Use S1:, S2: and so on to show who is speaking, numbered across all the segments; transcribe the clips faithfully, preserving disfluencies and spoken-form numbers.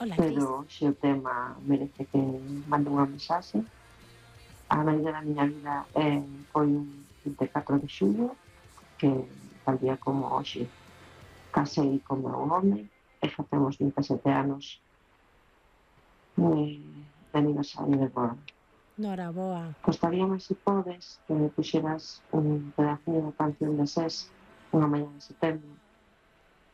S1: Hola, Cris.
S2: pero se o tema merece que mande unha mensaxe. A maioría da miña vida eh, foi un vinte e catro de xullo, que tal día como hoxe casei con meu home e facemos vinte e sete anos de, de aniversario de boda.
S1: Noraboa.
S2: Gostaríame, se podes, que me puxeras un pedacillo da canción de SES, Unha mañá de setembro,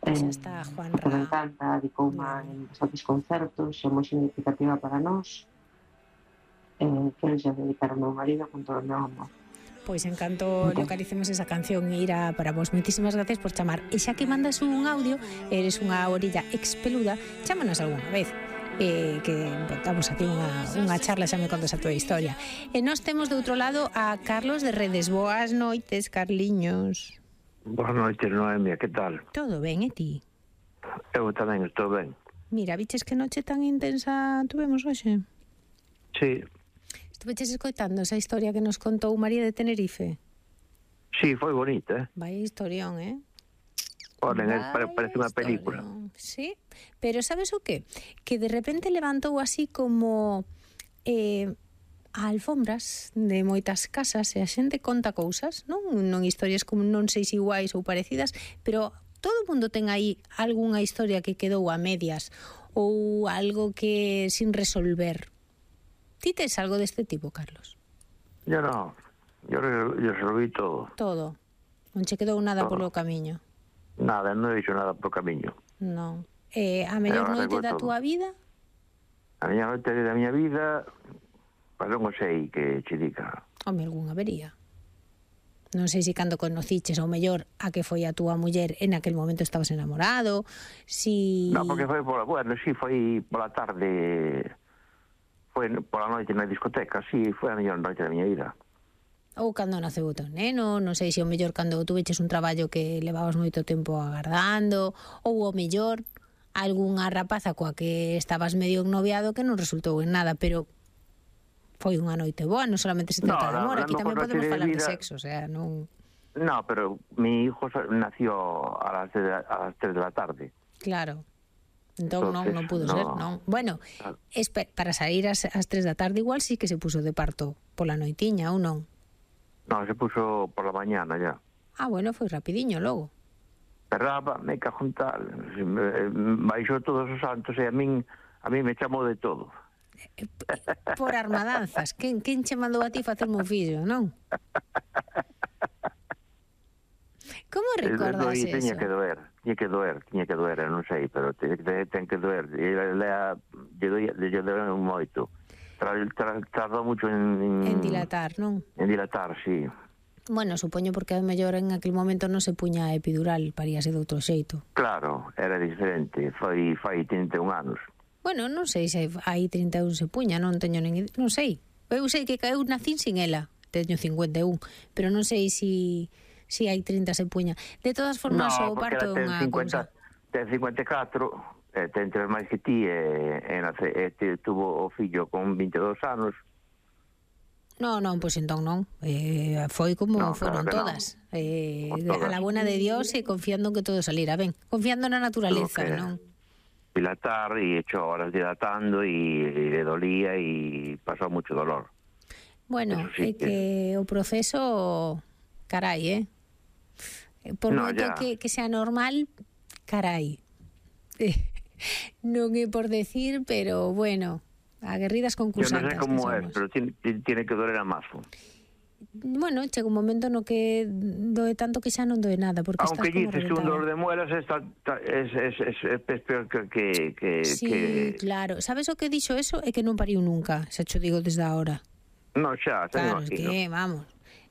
S1: Xa
S2: eh,
S1: está
S2: porque me
S1: Juanra.
S2: encanta, dicouma
S1: Bueno,
S2: en bastantes concertos, é moi significativa para nós, eh, quero xa dedicar ao meu marido con todo o meu amor.
S1: pois en canto
S2: Entón,
S1: localicemos esa canción irá para vos. Moitísimas gracias por chamar. E xa que mandas un audio, eres unha orilla expeluda, chámanos algunha vez. Eh, que botamos aquí unha, unha charla, xa me contas a tua historia. E nós temos de outro lado a Carlos de Redes. Boas noites, Carliños.
S3: Boas noites, Noemia, que tal?
S1: Todo ben, e ti?
S3: Eu tamén estou ben.
S1: Mira, viches que noche tan intensa tuvemos hoxe?
S3: Sí,
S1: Estuveches escoitando esa historia que nos contou María de Tenerife?
S3: sí, foi bonita, eh?
S1: Vaya historión, eh?
S3: Oren,
S1: Vaya
S3: pare, parece unha película.
S1: historión. Sí, pero sabes o qué? Que de repente levantou así como eh, a alfombras de moitas casas e a xente conta cousas, non? Non historias como non sei se iguais ou parecidas, pero todo o mundo ten aí algunha historia que quedou a medias ou algo que sin resolver. Ti tes algo deste tipo, Carlos?
S3: Yo no, yo, yo resolví todo.
S1: Todo. Non che quedou nada
S3: Todo.
S1: polo camiño.
S3: Nada, non he hecho nada por camiño.
S1: Non. Eh, a mellor
S3: Pero
S1: noite
S3: arreglo
S1: da
S3: todo.
S1: túa vida?
S3: A miña noite da miña vida, pues non o sei que che diga.
S1: Home, algún habería. Non sei se cando conociches ou mellor a que foi a túa muller en aquel momento estabas enamorado, si...
S3: No, porque foi pola, bueno, sí, foi pola tarde, foi pola noite na discoteca, sí, foi a mellor noite da miña vida.
S1: Ou cando naceu o teu neno, non sei se o mellor cando tuveches un traballo que levabas moito tempo agardando, ou o mellor algunha rapaza coa que estabas medio ennoviado que non resultou en nada, pero foi unha noite boa, non solamente se trata
S3: No,
S1: de amor,
S3: la-
S1: aquí
S3: la
S1: tamén
S3: mejor
S1: podemos
S3: noche de
S1: falar de
S3: vida-
S1: sexo, o sea, non...
S3: No, pero mi hijo sa- nació a las, de, a las tres de la tarde.
S1: Claro. Entón non,
S3: Entonces,
S1: non pudo
S3: no.
S1: ser, non. Bueno,
S3: Claro.
S1: espe- para sair ás, ás tres da tarde igual sí que se puso de parto pola noitiña, ou non?
S3: No, se puso por la mañana ya.
S1: Ah, bueno, foi rapidiño logo.
S3: Perraba, me cajo en tal, me- baixou todos os santos e a min a min me chamou de todo.
S1: Por armadanzas. Quen, quen che mandou a ti facerme un fillo, non? Como recordas
S3: Doi, tiña
S1: eso?
S3: que doer, tiña que doer, tiña que doer, non sei, pero te, te, ten que doer. E lea, lle doi, lle doi moito. Tra, tra, tardou mucho en, en,
S1: En dilatar, non?
S3: en dilatar, sí.
S1: Bueno, supoño porque a mellor en aquel momento non se puña a epidural, paríase de outro xeito.
S3: Claro, era diferente, foi fai trinta e un anos.
S1: Bueno, non sei se hai trinta e un se puña, non teño nin... Non sei. Eu sei que eu nacín sin ela, teño cincuenta e un, pero non sei si, si hai trinta se puña. De todas formas,
S3: No,
S1: o
S3: porque
S1: parto é
S3: ela ten
S1: unha
S3: cincuenta,
S1: cousa.
S3: ten cincuenta e catro, eh, ten tres máis que ti, e, e, nace, e te, tuvo o fillo con vinte e dous anos.
S1: No, non, pois entón non. Eh, foi como
S3: No,
S1: foron
S3: claro que
S1: todas. Eh,
S3: Por todas.
S1: A la buena de Dios e confiando que todo salira ben. Confiando na naturaleza,
S3: Tuvo que
S1: non?
S3: dilatar y hecho horas dilatando y, y le dolía y pasó mucho dolor.
S1: Bueno,
S3: Eso sí
S1: é que o proceso, carai, eh? Por
S3: No,
S1: moito
S3: ya.
S1: que, que sea normal, carai. Eh, non é por decir, pero bueno, aguerridas
S3: Yo no
S1: concursantes
S3: sé cómo
S1: que
S3: es,
S1: somos.
S3: pero tiene, tiene que doler a mazo.
S1: Bueno, chega un momento no que doe tanto que xa non doe nada, porque
S3: Aunque
S1: estás como
S3: dices un dolor
S1: reventada.
S3: de muelas está, está- es, es, es, es peor que... que, que,
S1: Sí,
S3: que...
S1: claro. Sabes o que dixo eso? É que non pariu nunca, xa cho digo desde ahora.
S3: No, xa, te
S1: Claro, es
S3: imagino.
S1: que, vamos.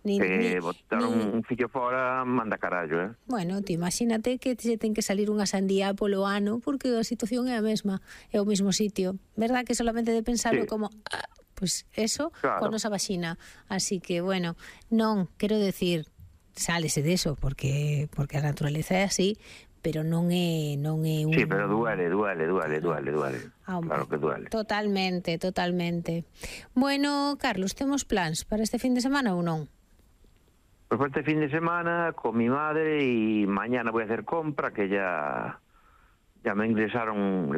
S1: Ni,
S3: Que
S1: ni,
S3: botar
S1: ni...
S3: un, un fillo fora manda carallo, eh?
S1: Bueno, te imagínate que se ten que salir unha sandía polo ano porque a situación é a mesma, é o mesmo sitio. Verdad que solamente de pensarlo
S3: Sí.
S1: como... Ah, pues eso,
S3: Claro.
S1: con nosa vaxina. Así que, bueno, non, quero decir, sálese deso, porque porque a naturaleza é así, pero non é non é un...
S3: Sí, pero duele, duele, duele,
S1: Claro.
S3: duele, duele.
S1: Ah, hombre,
S3: Claro que duele.
S1: Totalmente, totalmente. Bueno, Carlos, temos plans para este fin de semana ou non?
S3: Pues para este fin de semana con mi madre y mañana voy a hacer compra, que ya, ya me ingresaron la